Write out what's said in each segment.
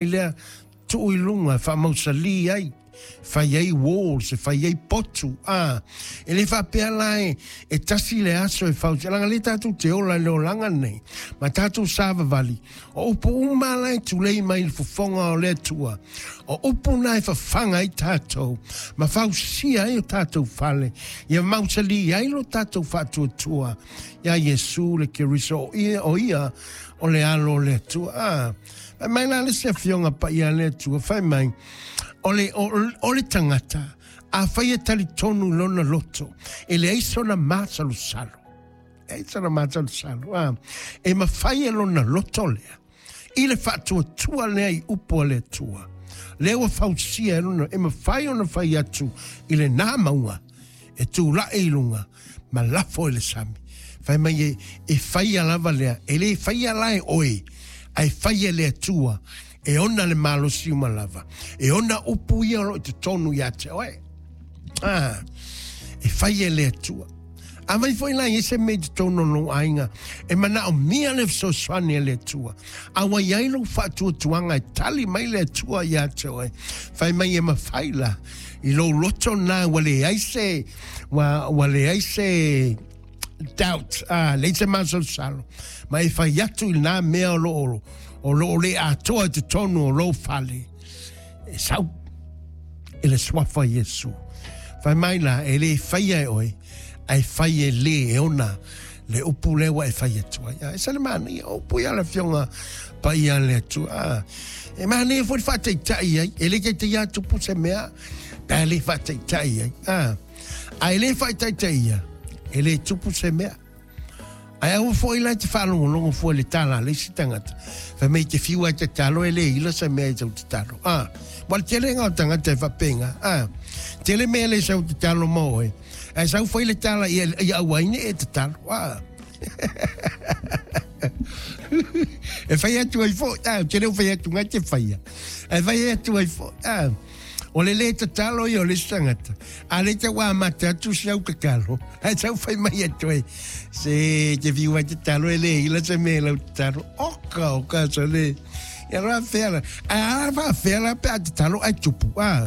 Lea tuu i luga e faamausali ai, fai ai walls, e fai ai potu, a. E le faapea la e, e tasi le aso e fausia, leaga lea tatou te ola i le olaga lenei, ma tatou savavali, o upu uma la e tulei mai i le fofoga o le Atua, o upu na e fafaga ai tatou, ma fausia ai o tatou fale, ia mausali ai lo tatou faatuatua ia Iesu le Keriso, o ia, o ia o le Alo o le Atua. A. Fai mai la le isi Afioga Paia a le Atua, fai mai, o le, o, o le tagata, afai e talitonu i lona loto, e leai sona masalosalo, leai sona masalosalo, a, e mafai e lona loto lea, i le faatuatua lea i upu a le Atua, lea ua fausia e lona, e mafai ona fai atu i lena mauga, e tulai i luga ma lafo i le sami. Fai mai e, e faia lava lea, e le faia la e oe, ae fai e le Atua, e ona le malosi uma lava, e ona upu ia o lo o i totonu ia te oe. Ah, e fai e le Atua. Afai foi la e i ai se mea i totonu o lou aiga e manaomia le fesoasoani a le Atua, a ua i ai lou faatuatuaga e tali mai le Atua ia te oe, fai mai e mafai la i lou loto lena ua leai se, ua, ua leai se doubt, ah, leai se masalosalo, ma e fai atu i lena mea o lo o, o lo o le atoa i totonu o lou fale, e sau i le suafa o Iesu. Fai mai la, e le faia e oe, ae fai e le e ona le upu lea ua e fai atu ai. E se le manaia, o upu ia le Afioga Paia a le Atua. E manaia foi le faataitai ai, e le taitai a tupu se mea, pe a le faataitai ai. A e le faataitaia, e le tupu se mea. Ae aua foi la e te faalogologo fua i le tala a le isi tagata, fai mai e te fiu lava e tatalo e le ila se mea i sau tatalo. A, ua le tele nga o tagata e faapena. A, tele mea e le sau tatalo ma oe, ae sau fai le tala ia, ia aua ai ne i e tatalo. A. e fai atu ai foi, a, ou te le o fai atu nga e te faia, ae fai atu ai foi, a. O le lē tatalo ia o le isi tagata, a lē tau amata atu si au tatalo, ae tau fai mai atu ai, se te fiu ai tatalo e lē ila se mea i lau tatalo. Oka, oka, so le, ia loa fea la, ae a faafea la pe a tatalo ae tupu, ah.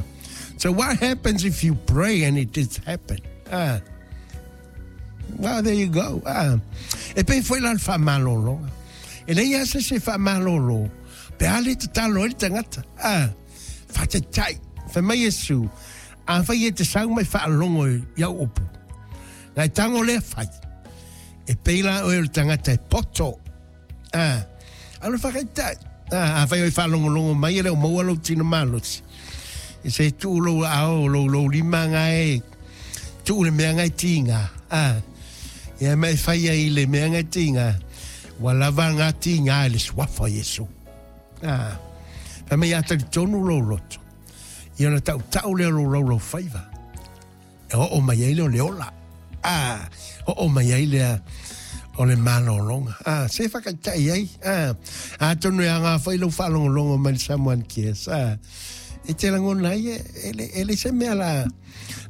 So what happens if you pray and it did happen? Ah. Well, there you go. Ah. E pei foi la le faamalologa. E leai lava se isi e faamalolo pe a le tatalo ai le tagata. Ah. Faataitai, fai mai Iesu, Afai e te sau mai faalogo i au upu, na e tango lea fai, e pei la oe o le tagata e poto. A, alo faataitai. A, afai oe faalogologo mai e le o maua lou tino malosi, e se tuu lou aao, lou, lou lima nga e tuu le mea nga e tiga. A, ia ma e fai ai le mea nga e tiga, ua lava nga tiga i le suafa o Iesu. Ā, fai mai a talitonu lou loto, ia ona tautau lea o lou laulaufaiva, e oo mai ai lea o le ola. Ā, oo mai ai lea o le malologa. Ā, se whakaitai ai. Ā, atonu e anga foi lou whaalongolongo mai le Samoan Cares. Ā, e te rangona ai e, e, le, e le se mea la,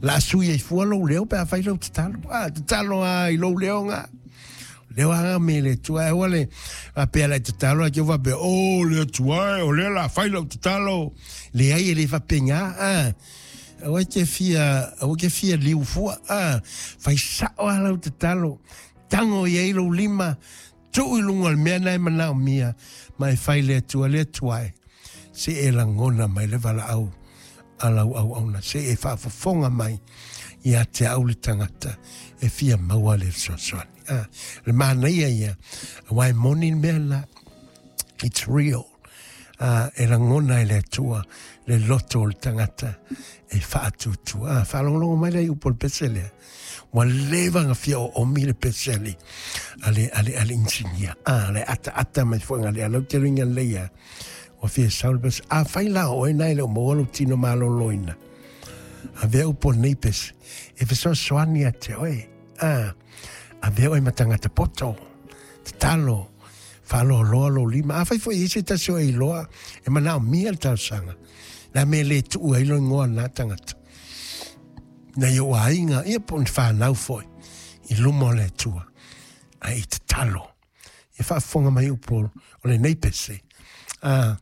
la sui ai fua lou leo pe a whai lou tatalo. Ā, tatalo a i lou leo ngā. Leo anga me le Atua e aua le faapea la e tatalo ae te faapea oh le Atua e o lea la fai lau tatalo. Leai e le faapena a. Aua e te fia aua ke fia liu fua a. Fai sao a lau tatalo. Tango i ai lou lima tuu i luga o le mea na e manaomia ma e fai le Atua le Atua e se e lagona mai le valaau a lau auauna se e faafofoga mai ia te au le tagata e fia maua le fesoasoani. Ah, le manaia ia, aua e moni le mea la, it's real. Ah, e lagona e le Atua le loto o le tagata e faatuatua. Ah, faalogologo mai lea i upu o le pese lea. Ua leva ona fia oomi le pese a le, a le, a le, a le inisinia. Ah, le ataata mai foi nga le alau te luinga lelei a. Ua fia sau le pese. Afai la o oe na e le o maua lou tino malōlōina. Avea upu o lenei pese. E fesoasoani ia te oe. Ah, avea oe ma tagata poto. Tatalo. Faaloaloa lou lima. Afai foi e i ai se tasi o e iloa e manaomia le talosaga. Le a mea e le tuu ai lou igoa na tagata. Nai ou aiga, ia po o ni whanau foi, i luma o le Atua, ae i tatalo. Ia faafofoga mai upu o lenei pese. Ah.